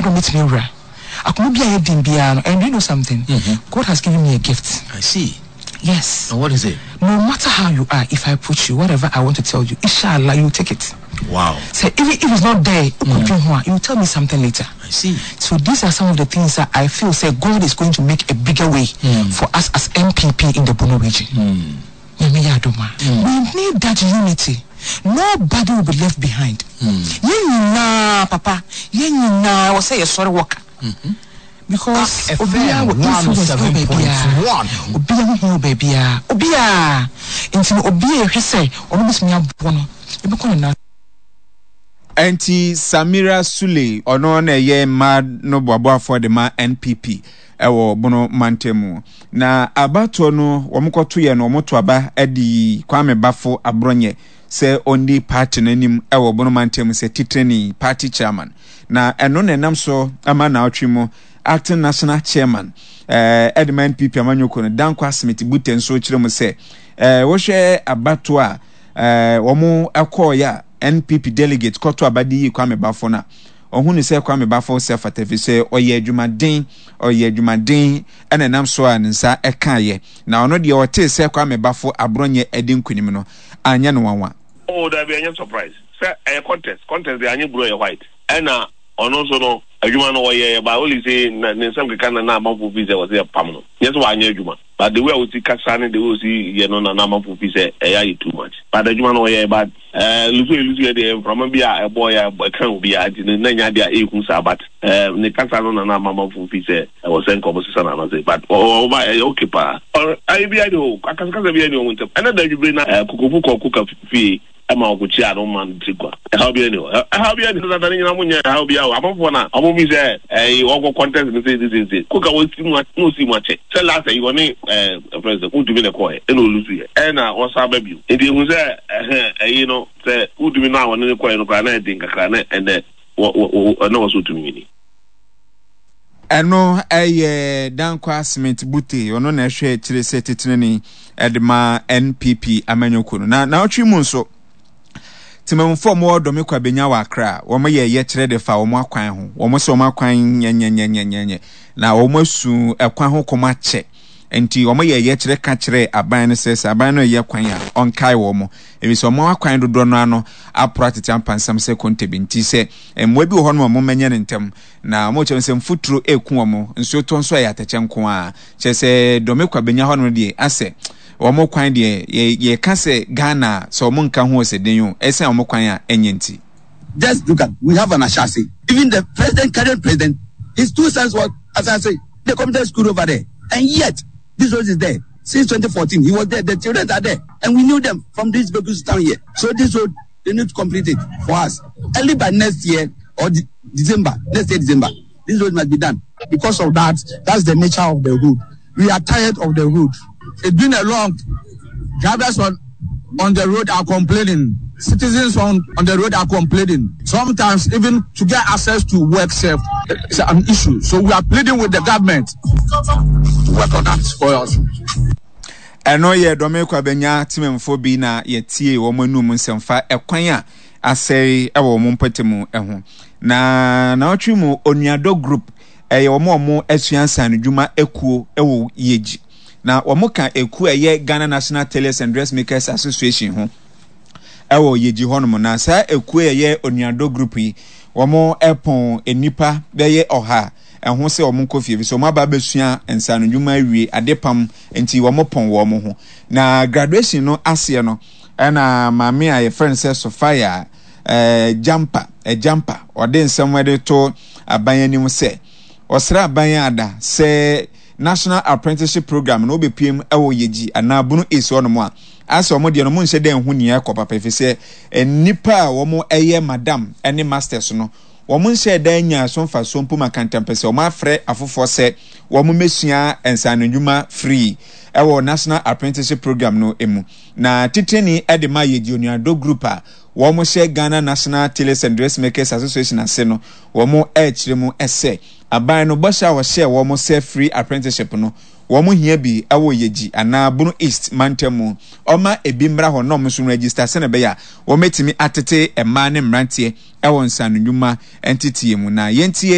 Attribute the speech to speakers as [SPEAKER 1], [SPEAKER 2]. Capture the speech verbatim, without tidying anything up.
[SPEAKER 1] adom bɛtumi awura akoma bi a yɛ den biara no. And you know something?
[SPEAKER 2] Mm-hmm.
[SPEAKER 1] God has given me a gift.
[SPEAKER 2] I see.
[SPEAKER 1] Yes.
[SPEAKER 2] And what is it?
[SPEAKER 1] No matter how you are, if I approach you, whatever I want to tell you, inshallah, you take it.
[SPEAKER 2] Wow.
[SPEAKER 1] So even if it's not there, mm. you will tell me something later.
[SPEAKER 2] I see.
[SPEAKER 1] So these are some of the things that I feel sɛ God is going to make a bigger way mm. for us as N P P in the Bono Region.
[SPEAKER 2] Mm.
[SPEAKER 1] Mm. We need that unity. Nobody will be left behind. Yɛn nyinaa, papa, yɛn nyinaa wɔ sɛ yɛsɔre wɔka. Because obiara wɔ influence wɔ baabiara, obiara ho hia wɔ baabiara, obiara nti no obiara ehwɛ sɛ ɔno bɛtumi aboɔ no ebɛkɔ ne nan.
[SPEAKER 3] Ɛnti Samira Sule, ɔno na ɛyɛ mmaa no boaboafoɔ de ma N P P ɛwɔ Bono mantam mu. Na abatoɔ no wɔn kɔto yɛ no, wɔn to aba de Kwame Bafo Aborɔnyɛ sɛ ɔndi party no anim ɛwɔ Bono mantam sɛ titrani, party chairman. Na ɛno na ɛnam so ama naawɔtwe mu acting national chairman ɛɛ ɛde ma N P P amanyɔkuo no, Dankwa Smith Bute, nso kyerɛ mu sɛ ɛɛ wɔhwɛ abatoɔ a ɛɛ wɔn ɛkɔɔyɛ a N P P delegate kɔto aba de yi Kwame Bafo no a, ɔhu ne sɛ Kwame Bafo sɛ fata fi sɛ ɔyɛ adwumaden, ɔyɛ adwumaden, ɛna ɛnam so a ne nsa ɛkaeɛ. Na ɔno deɛ, ɔtee sɛ Kwame Bafo Aborɔnyɛ ɛdi nkunim no, anyɛ no nwanwa.
[SPEAKER 4] Oh, dabi, ɛnyɛ surprise sɛ ɛyɛ contest. Contest deɛ, anyɛ blue ɛyɛ white. Ɛna ɔno nso no, adwuma no ɔyɛ, but only sɛ na ne nsɛm keka na na amanfo fi sɛ wɔsɛ yɛ pam no. Nyɛ sɛ wanyɛ adwuma, but the way a wosi kasa ne the way osi yɛ no na na amanfo fi sɛ ɛyɛ ayɛ too much, but adwuma no ɔyɛ. But ɛɛ lose yɛ lose yɛ deɛ, mframa bi a ɛbɔ yɛ ɛka obi a nti na nya deɛ ehu saa, but ɛɛ ne kasa no na na amanfo fi sɛ ɛwɔ sɛ nkɔmɔ sisa na anase, but ɔba ɛyɛ okay paa. Ɔ ayi bi ayɛ o, akasakasa bi ayɛ ɔmo ntɛm. Ɛna da adwibire na ɛɛ kokofu kɔ kuka fie ɛma ɔkɔkyia no ma no tiri kwa. Ɛhaw bi ani hɔ, ɛhaw bi ani dada ne nyina mo nyɛ ɛhaw bi a amanfoɔ na ɔmo fi sɛ ɛyi ɔkɔ contest no sɛ sɛ sɛ koka wɔsi mu na osi mu akyɛ sɛ last ɛyi ɔne ɛɛ ɛfrɛ sɛ wotumi na ɛkɔɛ ɛna ɔ lose yɛ ɛna ɔsan ba bio. Nti ehu sɛ ɛhɛn ɛyi no sɛ wotumi na ɔne ne kɔɛ no koraa na ɛden kakra na ɛnɛ wɔ wɔ ɛna wɔ so wotumi wini.
[SPEAKER 3] Ɛno ɛyɛ Dankwa Smith Bute, ɔno na ɛhwɛ akyire sɛ titenani ɛde ma N P P amanyɔkuo no. Na naawɔtwe mu nso, temamufoɔ a wɔwɔ Dɔme Kwabenya wɔ Akra, wɔn yɛ yɛkyerɛ de fa wɔn akwan ho. Wɔn sɛ wɔn akwan nyɛnyɛnyɛnyɛnyɛ na wɔn asu ɛkwan ho kɔm akyɛ, nti wɔn yɛ yɛkyerɛ ka kyerɛ aban no sɛ sɛ aban no yɛ kwan a, ɔnkae wɔn, ebi sɛ wɔn akwan dodoɔ no ano aporo atete apansam sɛ konte bi. Nti sɛ mmoa bi wɔ hɔ nom a, wɔn mɛnyɛ ne ntɛm. Na wɔn kyerɛ sɛ mfuturo eku wɔn, nsuo tɔ nso ɛyɛ atɛkyɛ nko a kyerɛ sɛ Dɔme Kwabenya hɔ nom deɛ, asɛ wɔn kwan deɛ, yɛ yɛka sɛ Ghana sɛ wɔn nka ho ɔsɛ den o, ɛsɛn wɔn kwan a ɛnyɛ nti.
[SPEAKER 5] Just look at, we have an Ashasi. Even the president, current president, his two sons were Ashasi. They committed school over there. And yet, this road is there. Since twenty fourteen, he was there. The children are there. And we knew them from this Begus town here. So this road, they need to complete it for us. Early by next year or de- December, next year December, this road must be done.
[SPEAKER 6] Because of that, that's the nature of the road. We are tired of the road. It's been a long. Drivers on on the road are complaining. Citizens on, on the road are complaining. Sometimes even to get access to work safe it's an issue. So we are pleading with the government to work on that for us.
[SPEAKER 3] Ɛno yɛ Dɔme Kwabenya temamfoɔ bi na yɛtie wɔn anum nsɛmfa ɛkwan a asɛe ɛwɔ wɔn mpɔtam ho. Na naawɔtwe mu, Onuadɔ Group, ɛyɛ wɔn a wɔn asua nsanodwuma ekuo ɛwɔ Yegyi, na wɔn ka ekuo a ɛyɛ Ghana National Tailors and Dressmakers Association ho ɛwɔ Yegyi hɔnom. Na saa ekuo a ɛyɛ Onuadɔ Group yi, wɔn ɛpɔn nnipa bɛyɛ ɔha ɛho sɛ wɔn nkɔ fie fi sɛ wɔn aba abɛsua nsanodwuma awie adepam, nti wɔn pɔn wɔn ho. Na graduation no aseɛ no, ɛna maame a yɛfrɛ no sɛ Sophia ɛɛ Jampa ɛjampa ɔde nsɛm ɛde to aban anim sɛ ɔsrɛ aban ada sɛ National Apprenticeship Program no wobɛpiem ɛwɔ Yegyi anaa Bono East hɔnom a, asɛ wɔn deɛ no wɔn nhyɛ dɛ nho nea ɛkɔ papa, efi sɛ nnipa a wɔn ɛyɛ madam ɛne masters no, wɔn nhyɛ dan nya so mfasoɔ mpo ma kantampɛ sɛ wɔn afrɛ afoforɔ sɛ wɔn mmɛsua nsanodwuma free ɛwɔ National Apprenticeship Program no mu. Na titini ɛde ma Yegyi Onuadɔ Group a wɔn hyɛ Ghana National Tailors and Dressmakers Association ase no, wɔn ɛrekyerɛ mu ɛsɛ aban no bɔhyɛ a wɔhyɛ wɔn sɛ free apprenticeship no, wɔn hia bi ɛwɔ Yegyi anaa Bono East mantam mu. Ɔma ebi mmra hɔ na wɔn nso register sɛnɛ ɛbɛyɛ a wɔmɛtumi atete mmaa ne mmeranteɛ ɛwɔ nsanodwuma nteteɛ mu. Na yɛntie.